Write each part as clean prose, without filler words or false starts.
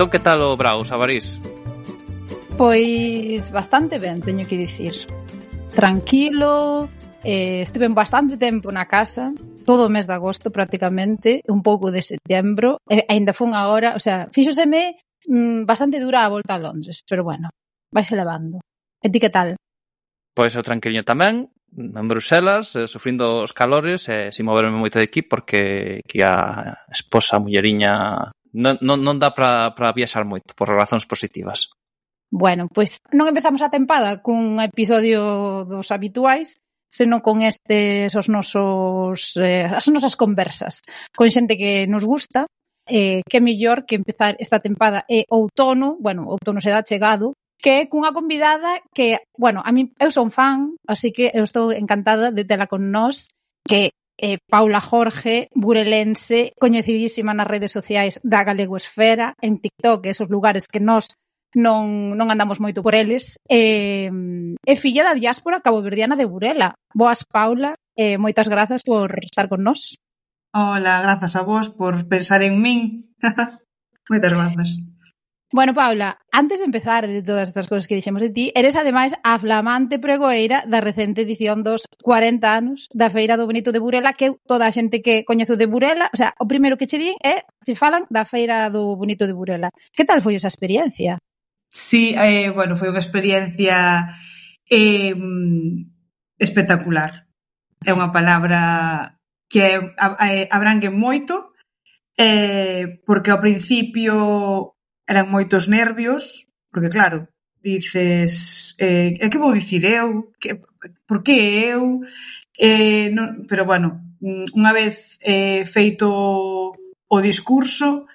Entón, que tal o Brao, Sabarís? Pois bastante ben, teño que dicir. Tranquilo, estive bastante tempo na casa, todo o mes de agosto prácticamente, un pouco de setembro, e aínda fun agora, o sea, fíxoseme bastante dura a volta a Londres, pero bueno, vaise levando. E ti que tal? Pois eu tranquiliño tamén, en Bruselas, sufrindo os calores e sin moverme moito de aquí porque que a esposa, a mulleriña, non dá para viaxar moito por razóns positivas. Bueno, pois non empezamos a tempada cun episodio dos habituais, senón con estes as nosas conversas con xente que nos gusta, que mellor que empezar esta tempada e outono se dá chegado, que é cunha convidada que, bueno, a mí eu son fan, así que eu estou encantada de tela con nós, que é Paula Jorge, burelense, coñecidísima nas redes sociais da Galegoesfera, en TikTok, esos lugares que nós non andamos moito por eles, e filla da diáspora caboverdiana de Burela. Boas, Paula, e moitas grazas por estar con nós. Hola, grazas a vos por pensar en min. Moitas grazas. Bueno, Paula, antes de empezar de todas estas cosas que dixemos de ti, eres ademais a flamante pregoeira da recente edición dos 40 anos da Feira do Bonito de Burela, que toda a xente que coñezo de Burela, o sea, o primeiro que che din é se falan da Feira do Bonito de Burela. Que tal foi esa experiencia? Sí, bueno, foi unha experiencia espectacular. É unha palabra que abrangue moito, porque ao principio eran moitos nervios, porque claro, dices, que vou dicir eu? Por que eu? Non, pero bueno, unha vez feito o discurso,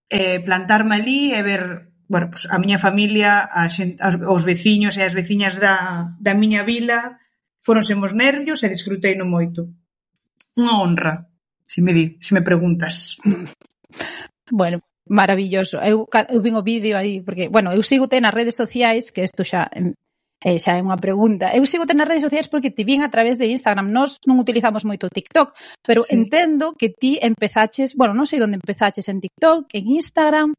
plantarme ali e ver, bueno, pues a miña familia, os veciños e as veciñas da miña vila, foronse os nervios e disfruteino moito. Unha honra, se me preguntas. Bueno, maravilloso. Eu vin o vídeo aí, porque, bueno, eu sigo-te nas redes sociais, que isto xa é unha pregunta. Eu sigo-te nas redes sociais porque te vin a través de Instagram. Nós non utilizamos moito TikTok, pero sí, entendo que ti empezaches, bueno, non sei onde empezaches, en TikTok, en Instagram,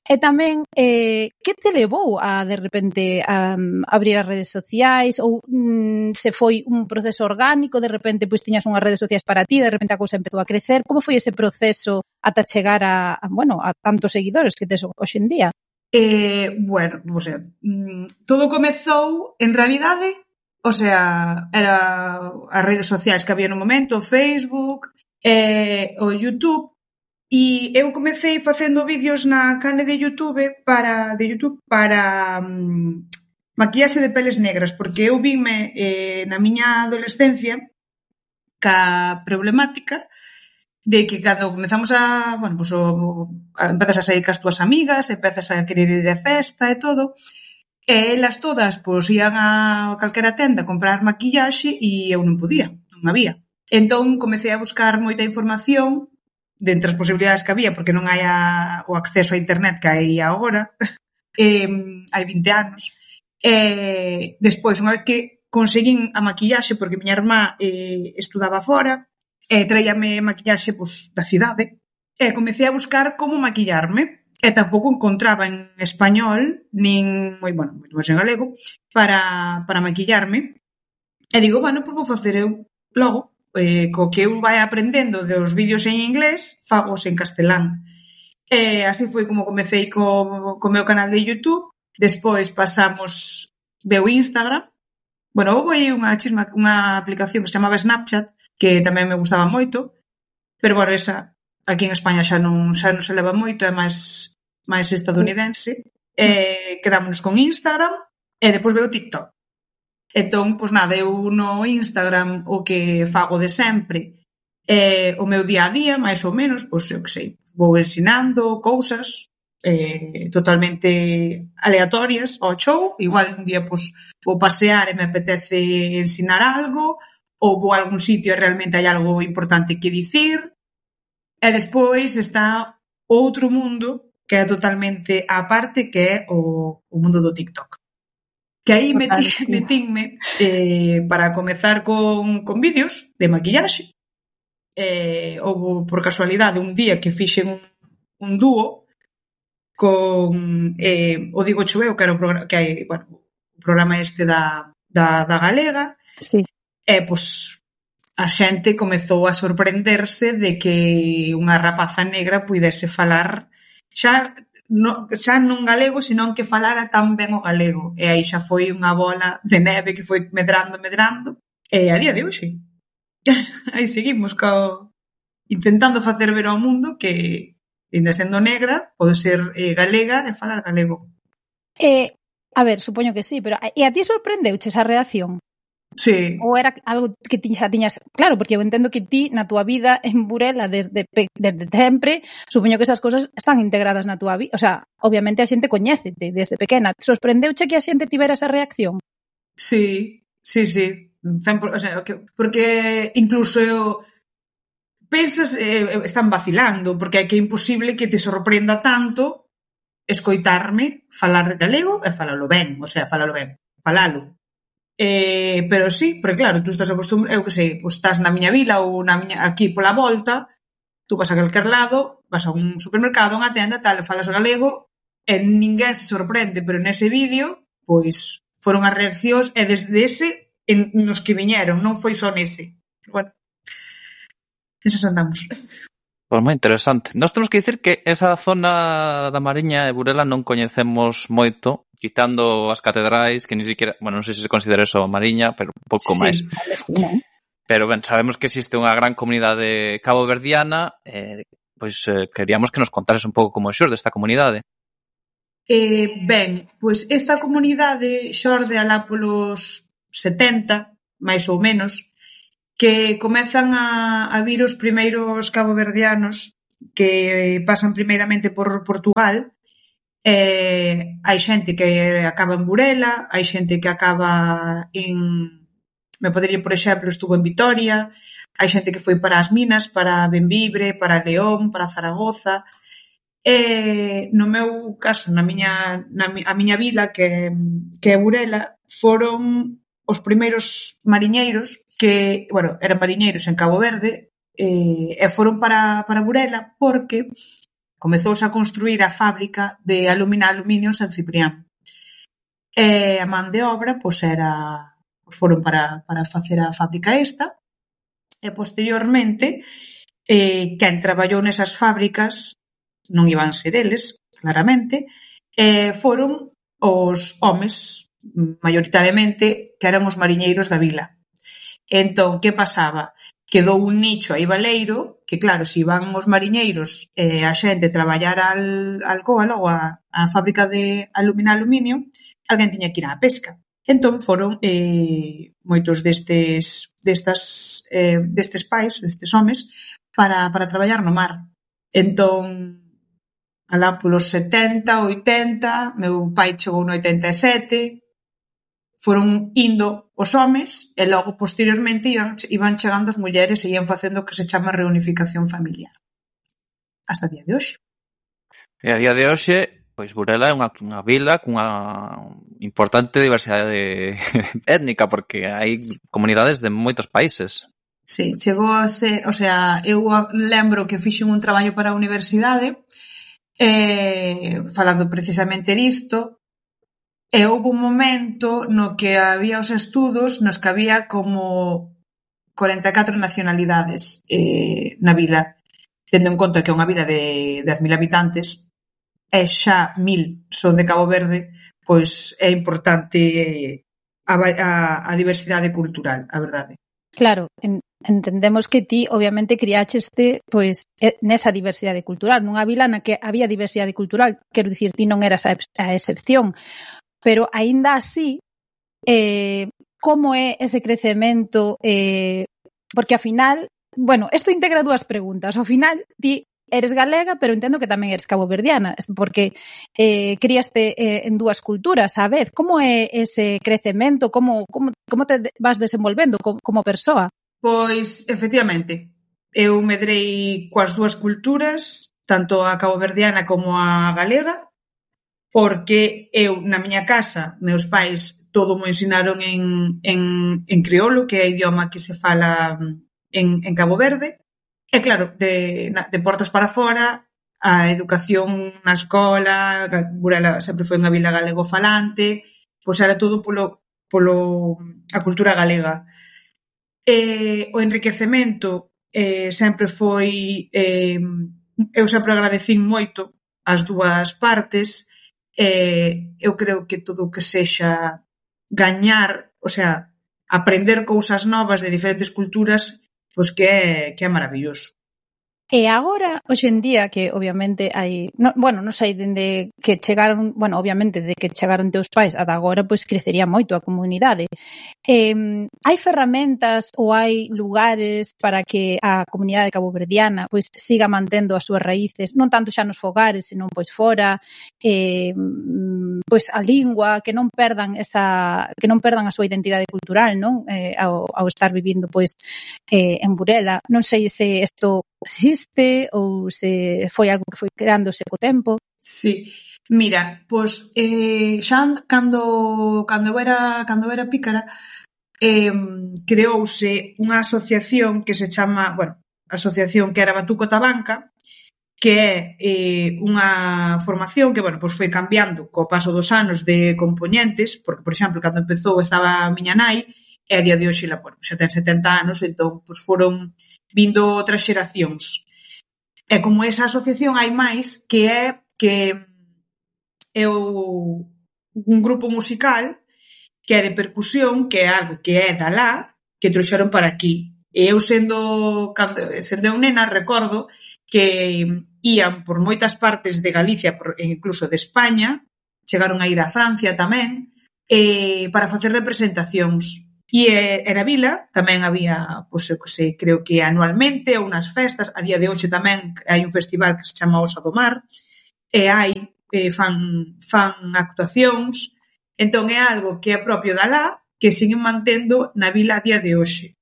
e tamén, que te levou a, de repente, a abrir as redes sociais, ou se foi un proceso orgánico, de repente, pois tiñas unhas redes sociais para ti, de repente a cousa empezou a crecer. Como foi ese proceso ata chegar a tantos seguidores que tes hoxe en día? Bueno, o sea, todo comezou, en realidade, o sea, era as redes sociais que había no momento, o Facebook, o YouTube, e eu comecei facendo vídeos na canle de YouTube para maquillaxe de peles negras, porque eu vime na miña adolescencia ca problemática de que cando comezamos empezas a sair cas túas amigas, empezas a querer ir de festa e todo, e elas todas ian a calquera tenda a comprar maquillaxe e eu non podía, non había. Entón comecei a buscar moita información de entre as posibilidades que había, porque non hai o acceso a internet que hai agora, hai 20 anos. Despois, unha vez que conseguín a maquillaxe, porque miña irmá estudaba fora, traíame maquillaxe da cidade, e comecei a buscar como maquillarme, e tampouco encontraba en español, nin moito máis en galego, para maquillarme. E digo, bueno, pois vou facer eu logo, co que eu vai aprendendo dos vídeos en inglés, fagos en castelán. Así foi como comecei co meu canal de YouTube. Despois pasamos, veu Instagram. Bueno, houve unha aplicación que se chamaba Snapchat, que tamén me gustaba moito, pero, bueno, esa aquí en España xa non se leva moito, é máis estadounidense. Quedámonos con Instagram e depois veo TikTok. Entón, pois nada, eu no Instagram o que fago de sempre é o meu día a día, máis ou menos, pois eu que sei, vou ensinando cousas totalmente aleatorias ao show. Igual un día pois vou pasear e me apetece ensinar algo, ou vou a algún sitio e realmente hai algo importante que dicir. E despois está outro mundo que é totalmente á parte, que é o mundo do TikTok. Que aí metinme para comezar con vídeos de maquillaxe. Houve por casualidade un día que fixen un dúo con o Digo Choveu, que era o programa este da Galega, Sí. e, pois, a xente comezou a sorprenderse de que unha rapaza negra puidese falar xa non galego, senón que falara tan ben o galego. E aí xa foi unha bola de neve que foi medrando, e a día de hoxe aí seguimos intentando facer ver ao mundo que, ainda sendo negra, pode ser galega e falar galego. A ver, supoño que sí, pero e a ti sorprendeuche esa reacción? Sí. Ou era algo que ti xa tiñas... Claro, porque eu entendo que ti, na túa vida en Burela, desde sempre, supoño que esas cosas están integradas na túa vida. O sea, obviamente a xente coñécete desde pequena. Sorprendeuche que a xente tivera esa reacción? Sí. O sea, porque incluso pensas, están vacilando, porque é que é imposible que te sorprenda tanto escoitarme falar galego e falalo ben. Falalo. Pero sí, porque claro, tú estás acostumbrado, eu que sei, pues estás na miña vila ou aquí pola volta, tú vas a calquer lado, vas a un supermercado, unha tenda, tal, falas galego e ninguén se sorprende, pero nese vídeo, pois, foron as reaccións e desde ese nos que viñeron, non foi só nese. Bueno, esas andamos. Pois moi interesante. Nós temos que dicir que esa zona da Mariña e Burela non coñecemos moito, quitando as catedrais, que ni siquiera, bueno, non sei se considera eso a Mariña, pero un pouco máis. Pero ben, sabemos que existe unha gran comunidade caboverdiana, pois queríamos que nos contases un pouco como xorde esta comunidade. Ben, pois esta comunidade xorde alá polos 70, máis ou menos, que comezan a vir os primeiros caboverdianos que pasan primeiramente por Portugal. Hai xente que acaba en Burela, hai xente que acaba en... Me podería, por exemplo, estuvo en Vitoria, hai xente que foi para as Minas, para Bembibre, para León, para Zaragoza. No meu caso, a miña vila, que é Burela, foron os primeiros mariñeiros que, bueno, eran mariñeiros en Cabo Verde, e foron para Burela porque comezouse a construir a fábrica de aluminio en San Ciprián. E a man de obra, pois foron para facer a fábrica esta, e posteriormente, quen traballou nesas fábricas, non iban ser eles, claramente, foron os homes, maioritariamente, que eran os mariñeiros da vila. Entón, que pasaba? Quedou un nicho aí baleiro, que claro, se iban os mariñeiros a xente traballar al Alcoa, logo a fábrica de aluminio, alguén tiña que ir á pesca. Entón foron moitos destes pais, destes homes, para traballar no mar. Entón, alá polos 70, 80, meu pai chegou no 87, foron indo os homes e logo, posteriormente, iban chegando as mulleres e ian facendo o que se chama reunificación familiar. Hasta o día de hoxe. E a día de hoxe, pois Burela é unha vila cunha importante diversidade étnica, porque hai comunidades de moitos países. Sí, chegou a ser, o sea, eu lembro que fixen un traballo para a universidade falando precisamente disto. E houve un momento no que había os estudos nos que había como 44 nacionalidades na vila, tendo en conta que é unha vila de 10.000 habitantes e xa 1.000 son de Cabo Verde, pois é importante a diversidade cultural, a verdade. Claro, entendemos que ti obviamente criácheste pois nesa diversidade cultural, nunha vila na que había diversidade cultural, quero dicir, ti non eras a excepción. Pero, aínda así, como é ese crecemento? Porque, ao final, bueno, isto integra dúas preguntas. Ao final, ti eres galega, pero entendo que tamén eres caboverdiana, porque críaste en dúas culturas á vez. Como é ese crecemento? Como te vas desenvolvendo como persoa? Pois, efectivamente, eu medrei coas dúas culturas, tanto a caboverdiana como a galega, porque eu, na miña casa, meus pais todo mo ensinaron en crioulo, que é o idioma que se fala en Cabo Verde, e claro, de portas para fora, a educación na escola, Burela sempre foi unha vila galego-falante, pois era todo polo a cultura galega. O enriquecemento sempre foi... eu sempre agradecín moito as dúas partes. Eu creo que todo o que sexa gañar, o sea, aprender cousas novas de diferentes culturas, pois que é maravilloso. E agora, hoxe en día, que obviamente hai... non sei, dende que chegaron... obviamente, de que chegaron teus pais ata agora, pois crecería moito a comunidade. Hai ferramentas ou hai lugares para que a comunidade caboverdiana pois siga mantendo as súas raíces, non tanto xa nos fogares, senón pois fora, pois a lingua, que non perdan a súa identidade cultural, non? Ao estar vivindo pois en Burela. Non sei se isto existe ou se foi algo que foi creándose co tempo. Sí, mira, pois xa cando era pícara, creouse unha asociación que se chama, asociación que era Batuco Tabanca, que é unha formación que, pois foi cambiando co paso dos anos de compoñentes, porque, por exemplo, cando empezou estaba a miña nai, e a día de hoxe xa ten 70 anos, entón, pois foron vindo outras xeracións. E como esa asociación hai máis, que é un grupo musical que é de percusión, que é algo que é da lá, que trouxeron para aquí. E eu sendo eu nena, recordo que ían por moitas partes de Galicia, incluso de España, chegaron a ir a Francia tamén, para facer representacións. E na vila tamén había, pois, creo que anualmente, ou nas festas, a día de hoxe tamén hai un festival que se chama Osa do Mar, e fan actuacións, entón é algo que é propio da lá, que siguen mantendo na vila a día de hoxe.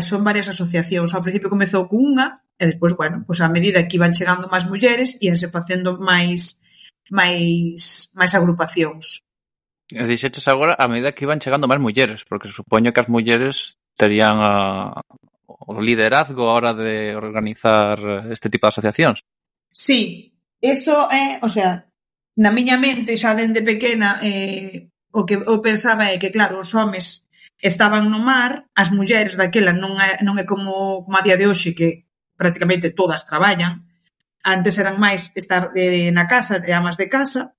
Son varias asociacións, ao principio comezou con unha, e despois, pois a medida que iban chegando máis mulleres, íanse facendo máis agrupacións. E dixeches agora a medida que iban chegando máis mulleres, porque supoño que as mulleres terían o liderazgo a hora de organizar este tipo de asociacións. Sí, eso é, o sea, na miña mente xa dende pequena o que eu pensaba é que, claro, os homes estaban no mar, as mulleres daquela non é como a día de hoxe, que prácticamente todas traballan. Antes eran máis estar na casa, de amas de casa.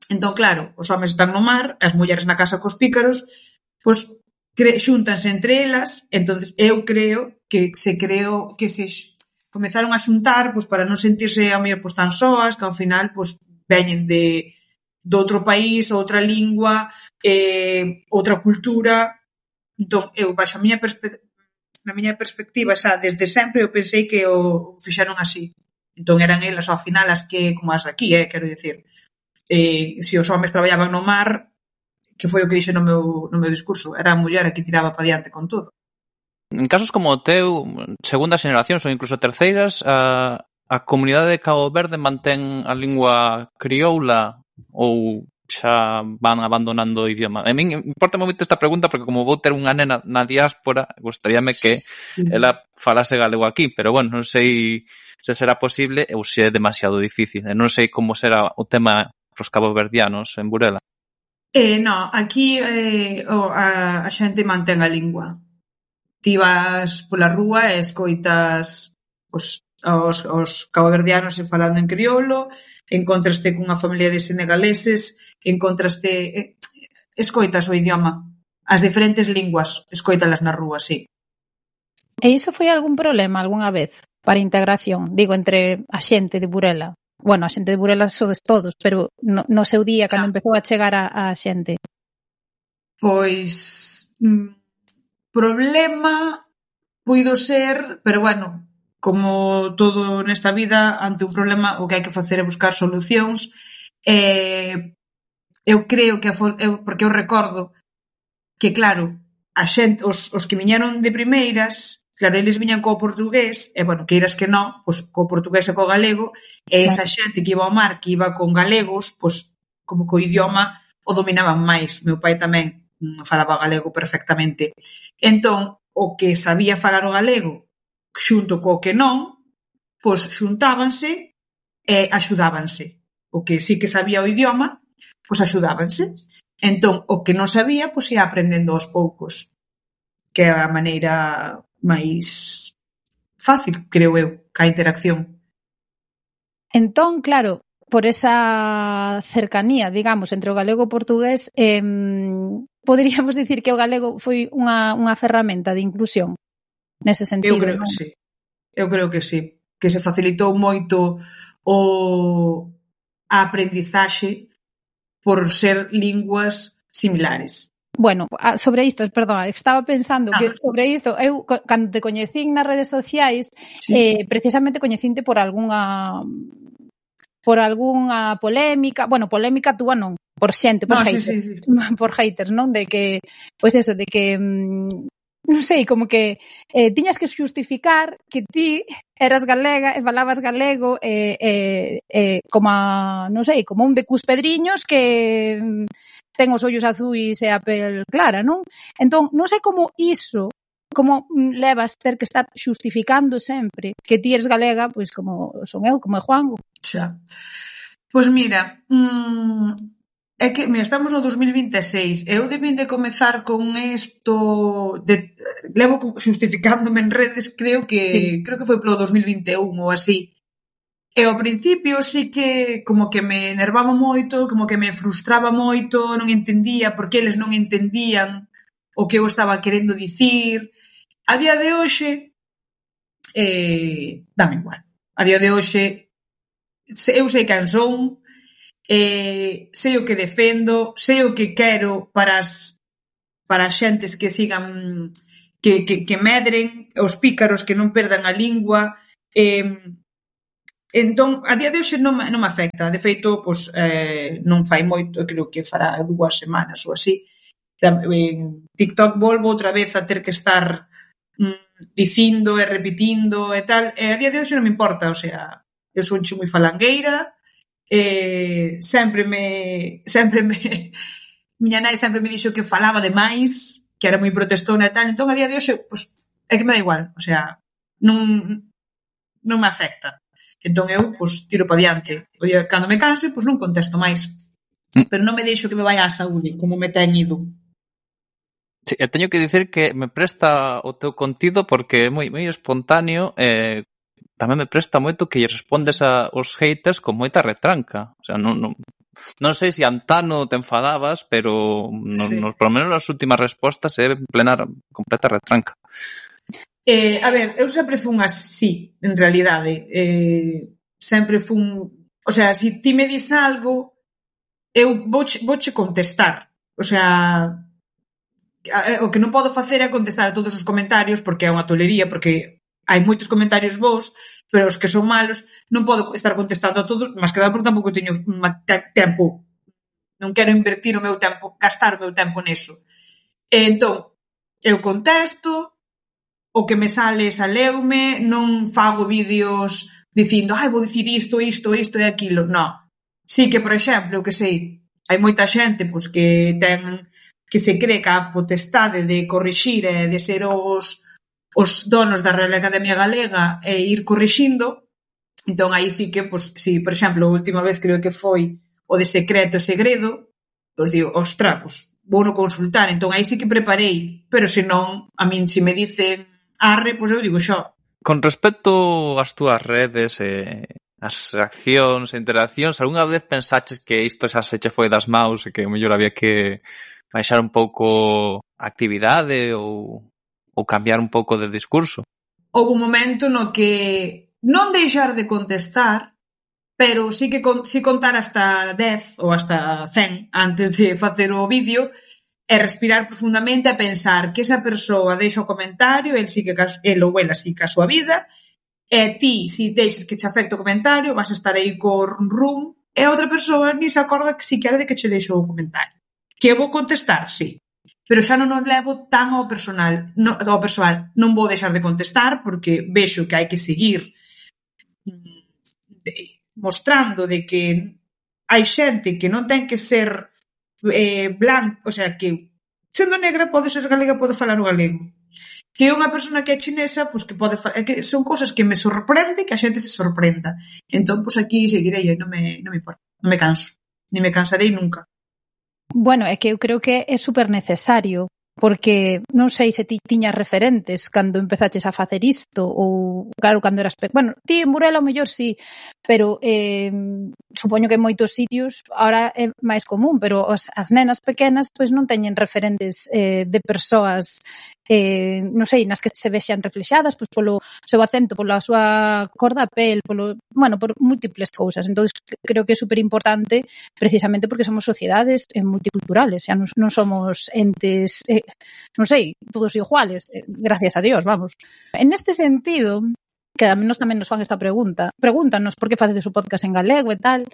Entón, claro, os homes están no mar, as mulleres na casa cos pícaros, pois xúntanse entre elas, entón eu creo que se comezaron a xuntar pois para non sentirse ao mellor pois tan soas, que ao final pois veñen de outro país, outra lingua, outra cultura. Entón, eu baixo na miña perspectiva, xa desde sempre eu pensei que o fixeron así. Entón eran elas ao final as que, como as aquí, quero dicir, se os homes traballaban no mar, que foi o que dixe no meu discurso, era a muller a que tiraba para diante con todo. En casos como o teu, segundas xeneracións ou incluso terceiras, a comunidade de Cabo Verde mantén a lingua crioula ou xa van abandonando o idioma? A min importa moito esta pregunta porque como vou ter unha nena na diáspora, gustaríame que ela falase galego aquí, pero non sei se será posible ou se é demasiado difícil. Non sei como será o tema pros caboverdianos en Burela. Non, aquí a xente mantén a lingua. Ti vas pola rúa e escoitas os caboverdianos falando en crioulo, encontraste cunha familia de senegaleses, escoitas o idioma, as diferentes linguas, escoitalas na rúa, sí. E iso foi algún problema algunha vez para a integración, digo, entre a xente de Burela? A xente de Burela sodes todos, pero no seu día, cando empezou a chegar a xente. Pois problema puido ser, pero como todo nesta vida, ante un problema o que hai que facer é buscar solucións. Eu creo que porque eu recordo que, claro, a xente, os que viñeron de primeiras, claro, eles viñan co portugués, e, queiras que non, pois, co portugués e co galego, e esa xente que iba ao mar, que iba con galegos, pois, como co idioma, o dominaban máis. Meu pai tamén falaba galego perfectamente. Entón, o que sabía falar o galego, xunto co que non, pois xuntábanse e axudábanse. O que sí que sabía o idioma, pois axudábanse. Entón, o que non sabía, pois ia aprendendo aos poucos, que é a maneira máis fácil, creo eu, ca interacción. Entón, claro, por esa cercanía, digamos, entre o galego e o portugués, poderíamos dicir que o galego foi unha ferramenta de inclusión nese sentido. Eu creo que sí. Eu creo que sí. Que se facilitou moito a aprendizaxe por ser linguas similares. Bueno, sobre isto, perdón, estaba pensando que sobre isto, eu cando te coñecín nas redes sociais, sí, precisamente coñecinte por algunha polémica, bueno, polémica túa non, por xente, por haters, sí. Por haters, non? De que, pois eso, de que non sei, como que tiñas que xustificar que ti eras galega e falabas galego como non sei, como un de Cuspedriños que ten os ollos azuis e a pel clara, non? Entón, non sei como iso, como levas ter que estar xustificando sempre que ti eres galega, pois como son eu, como é Juango. Xa. Pois mira, é que, mira, estamos no 2026, eu debín de comezar con isto, levo xustificándome en redes, creo que foi polo 2021 ou así. E ao principio sí que como que me enervaba moito, como que me frustraba moito, non entendía porque eles non entendían o que eu estaba querendo dicir. A día de hoxe, dame igual. A día de hoxe, eu sei quen son, sei o que defendo, sei o que quero para as xentes que sigan, que medren, os pícaros que non perdan a lingua. Entón, a día de hoxe non me afecta. De feito, pois, non fai moito, creo que fará 2 semanas ou así. En TikTok volvo outra vez a ter que estar dicindo e repetindo e tal. E a día de hoxe non me importa, o sea, eu son moi falangueira, sempre miña nai sempre me dixo que falaba demais, que era moi protestona e tal. Entón, a día de hoxe, pois, é que me dá igual, o sea, non me afecta. Entón eu, pois, tiro pa diante. O día cando me canse, pois non contesto máis. Pero non me deixo que me vaya á saúde, como me ten ido. Sí, eu teño que dicir que me presta o teu contido porque é moi espontáneo, tamén me presta moito que lle respondes aos haters con moita retranca. O sea, non sei se antano te enfadabas, pero polo menos nas últimas respostas é plena, completa retranca. A ver, eu sempre fun así, en realidade. Sempre fun... O sea, se ti me dis algo, eu vouche contestar. O sea, o que non podo facer é contestar a todos os comentarios porque é unha tolería, porque hai moitos comentarios bons, pero os que son malos non podo estar contestando a todos, máis que nada porque tampouco teño tempo. Non quero invertir o meu tempo, gastar o meu tempo neso. Entón, eu contesto, o que me saleume, non fago vídeos dicindo, vou dicir isto e aquilo, non. Sí que, por exemplo, que sei, hai moita xente pois, que se cree que a potestade de corrixir e de ser os donos da Real Academia Galega e ir corrixindo. Entón, aí sí que, pois, si, por exemplo, a última vez creo que foi o de secreto e segredo, pois digo, ostra, pois, vou no consultar. Entón, aí sí que preparei, pero se non, a min, se me dicen arre, pois eu digo xo. Con respecto ás túas redes e as reaccións e interaccións, algunha vez pensaches que isto xa se che foi das maus e que mellor había que baixar un pouco a actividade ou cambiar un pouco de discurso? Houve un momento no que non deixar de contestar, pero sí que contar hasta 10 ou hasta 100 antes de facer o vídeo e respirar profundamente e pensar que esa persoa deixa o comentario, el ou ela siga a súa vida, e ti, se deixes que che afecte o comentario, vas a estar aí co rum, e a outra persoa ni se acorda que siquera de que che deixou o comentario. Que eu vou contestar, sí, pero xa non o levo tan ao persoal. Non vou deixar de contestar porque vexo que hai que seguir mostrando de que hai xente que non ten que ser blanco, o sea, que sendo negra pode ser galega, pode falar o galego. Que unha persona que é chinesa, pois que pode que son cousas que me sorprende que a xente se sorprenda. Entón, pois aquí seguirei, non me importa, non me canso, ni me cansarei nunca. Bueno, é que eu creo que é super necesario, porque non sei se ti tiñas referentes cando empezaches a facer isto, ou, claro, cando eras bueno, ti en Burela o mellor sí, pero supoño que en moitos sitios ahora é máis común, pero as nenas pequenas pois non teñen referentes de persoas non sei, nas que se vexan reflexadas pois polo seu acento, pola súa cor da pel, por múltiples cousas. Entón, creo que é super importante precisamente porque somos sociedades multiculturales, xa non somos entes, non sei, todos iguales, gracias a Dios, vamos. En este sentido, que a menos tamén nos fan esta pregúntanos por que facedes o podcast en galego e tal.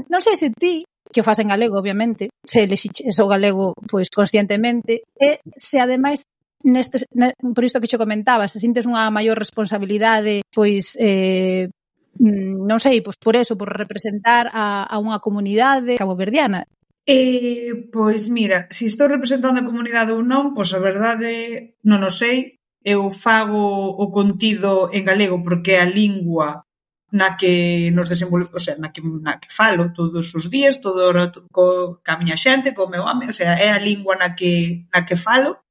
Non sei se ti, que o faz en galego, obviamente, se elixiches o galego pois conscientemente, e se ademais por isto que xo comentaba, se sintes unha maior responsabilidade, pois non sei, pois por eso, por representar a unha comunidade caboverdiana. Pois mira, se estou representando a comunidade ou non, pois a verdade non o sei. Eu fago o contido en galego porque é a lingua na que nos desenvolvemos, o sea, na que falo todos os días, todo o rato ca miña xente, co meu home, o sea, é a lingua na que falo.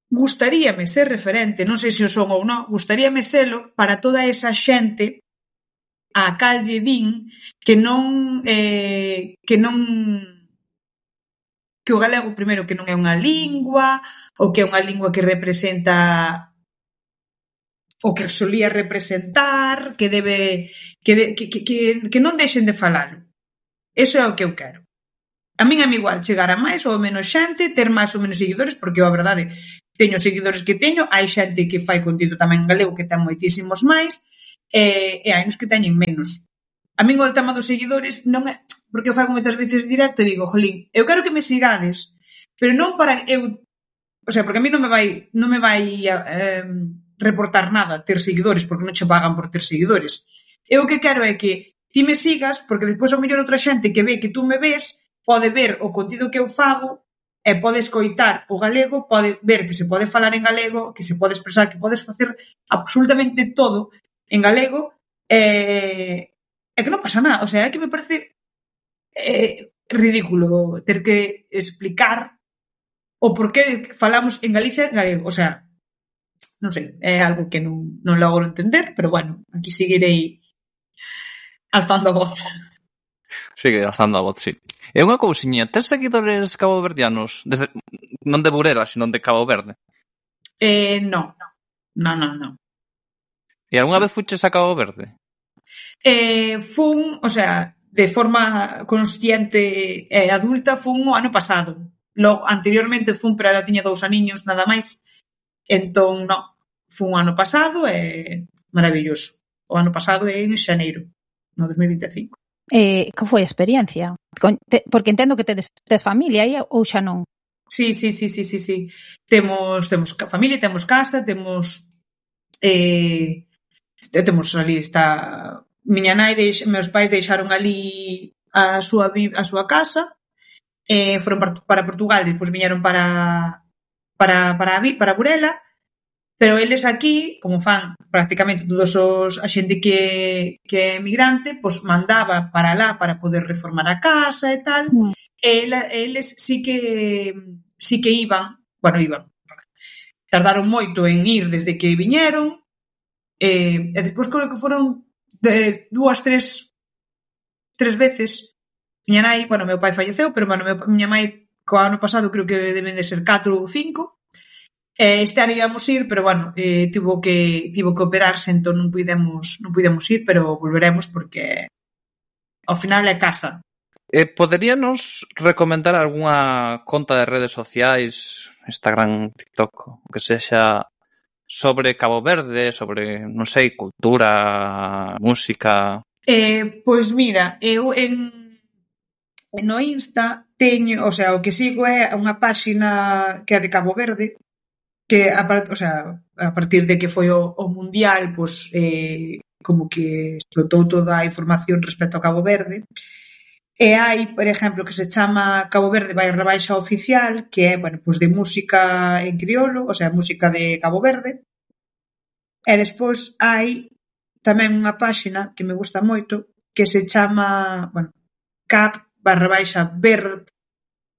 Gustaríame ser referente, non sei se o son ou non, gustaríame selo para toda esa xente a cal lle din que o galego, primeiro, que non é unha lingua, ou que é unha lingua que representa o que solía representar, que non deixen de falalo. Eso é o que eu quero. A min é igual chegar a máis ou menos xente, ter máis ou menos seguidores, porque a verdade, teño seguidores que teño, hai xente que fai contido tamén en galego que ten moitísimos máis, e hai uns que teñen menos. A min o tema dos seguidores non é, porque eu fago moitas veces directo e digo, jolín, eu quero que me sigades, pero non para eu, o sea, porque a mí non me vai reportar nada ter seguidores, porque non che pagan por ter seguidores. Eu o que quero é que ti me sigas, porque despois ao mellor outra xente que ve que tú me ves, pode ver o contido que eu fago e pode escoitar o galego, pode ver que se pode falar en galego, que se pode expresar, que podes facer absolutamente todo en galego, e que non pasa nada. O sea, é que me parece ridículo ter que explicar o porqué falamos en Galicia en galego. O sea, non sei, é algo que non logro entender, pero bueno, aquí seguirei alzando a voz. Sigue alzando a voz, sí. É unha cousiña, tes seguidores caboverdianos? Non de Burela, sino de Cabo Verde? Non. E algunha vez fuches a Cabo Verde? Fun, o sea, de forma consciente e adulta, fun o ano pasado. Logo, anteriormente fun, pero era tiña 2 aniños, nada máis. Entón, non. Fun o ano pasado e maravilloso. O ano pasado é en xaneiro, no 2025. Que foi a experiencia? Porque entendo que tedes familia aí ou xa non? Sí. Temos familia, temos casa, temos ali está miña nai, meus pais deixaron ali a súa casa, foron para Portugal, despois viñeron para Burela. Pero eles aquí, como fan prácticamente todos a xente que é emigrante, pois mandaba para lá para poder reformar a casa e tal, e eles sí que iban, tardaron moito en ir desde que viñeron, e despois creo que foron 2, 3 veces. Miña nai, meu pai falleceu, pero miña mãe co ano pasado creo que deben de ser 4 ou 5. Este ano íamos ir, pero tivo que operarse, entón non pudemos ir, pero volveremos porque ao final é casa. Poderíanos recomendar algunha conta de redes sociais, Instagram, TikTok, que sexa sobre Cabo Verde, sobre, non sei, cultura, música? Pois mira, eu no Insta teño, o sea, o que sigo é unha páxina que é de Cabo Verde, que a partir de que foi o Mundial, pois como que explotou toda a información respecto a Cabo Verde, E hai, por exemplo, que se chama Cabo Verde /Baixa Oficial, que é, bueno, pues de música en criolo, o sea, música de Cabo Verde. E despois hai tamén unha páxina que me gusta moito, que se chama, bueno, cap/verde,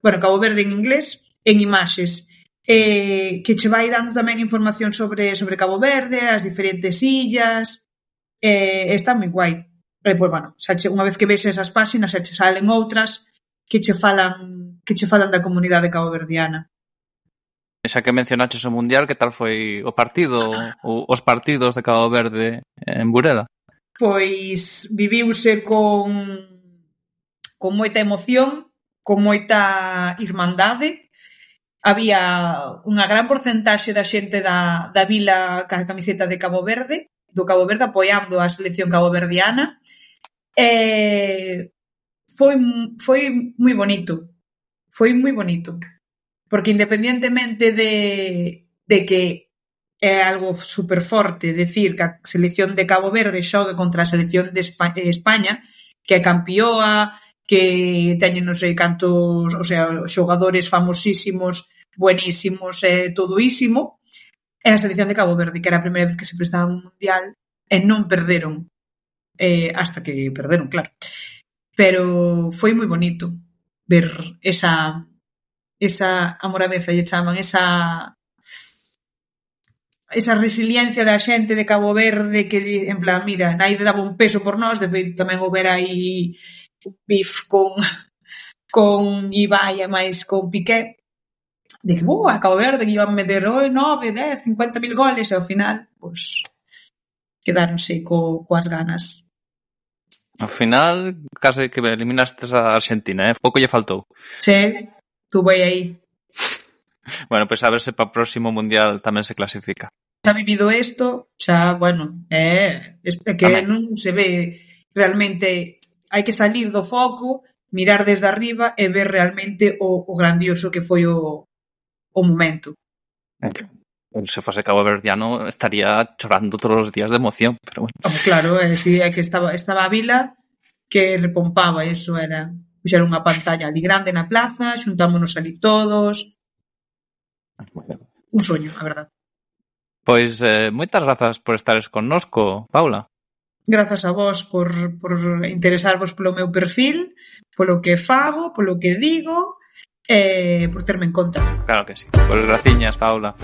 bueno, Cabo Verde en inglés, en imaxes, que che vai dando tamén información sobre Cabo Verde, as diferentes illas, está moi guai. E, pois, bueno, unha vez que ves esas páxinas, xa che salen outras que che falan da comunidade caboverdiana. Xa que mencionaches o Mundial, que tal foi o partido, os partidos de Cabo Verde en Burela? Pois viviuse con moita emoción, con moita irmandade. Había unha gran porcentaxe da xente da vila ca camiseta de Cabo Verde, do Cabo Verde, apoiando a selección caboverdiana. Foi moi bonito. Foi moi bonito. Porque independientemente de que é algo super forte decir que a selección de Cabo Verde xoga contra a selección de España, que é campioa, que teñen non sei cantos, o sea, xogadores famosísimos, buenísimos, todoísimo, é a selección de Cabo Verde, que era a primeira vez que se prestaba un mundial e non perderon, hasta que perderon, claro. Pero foi moi bonito ver esa amoraveza, lle chaman, esa resiliencia da xente de Cabo Verde que, en plan, mira, naide daba un peso por nós, de feito tamén houber aí un bif con Ibai e máis con Piqué, de que, a Cabo Verde que iban meter 9, 10, 50.000 goles, e ao final, pois, quedáronse coas ganas. Ao final, case que eliminastes a Argentina, pouco lle faltou. Sí, tuve aí. Bueno, pois a ver se para o próximo Mundial tamén se clasifica. Xa vivido isto, xa, bueno, que non se ve realmente, hai que salir do foco, mirar desde arriba e ver realmente o grandioso que foi o momento. Se fose Cabo Verdiano estaría chorando todos os días de emoción, pero bueno. Claro, si é que estaba a vila que repompaba, eso era, puxeron unha pantalla ali grande na plaza, xuntámonos ali todos. Un soño, a verdad. Pois moitas grazas por estares connosco, Paula. Grazas a vos por interesarvos polo meu perfil, polo que fago, polo que digo, por terme en conta. Claro que sí. Pois graciñas, Paula.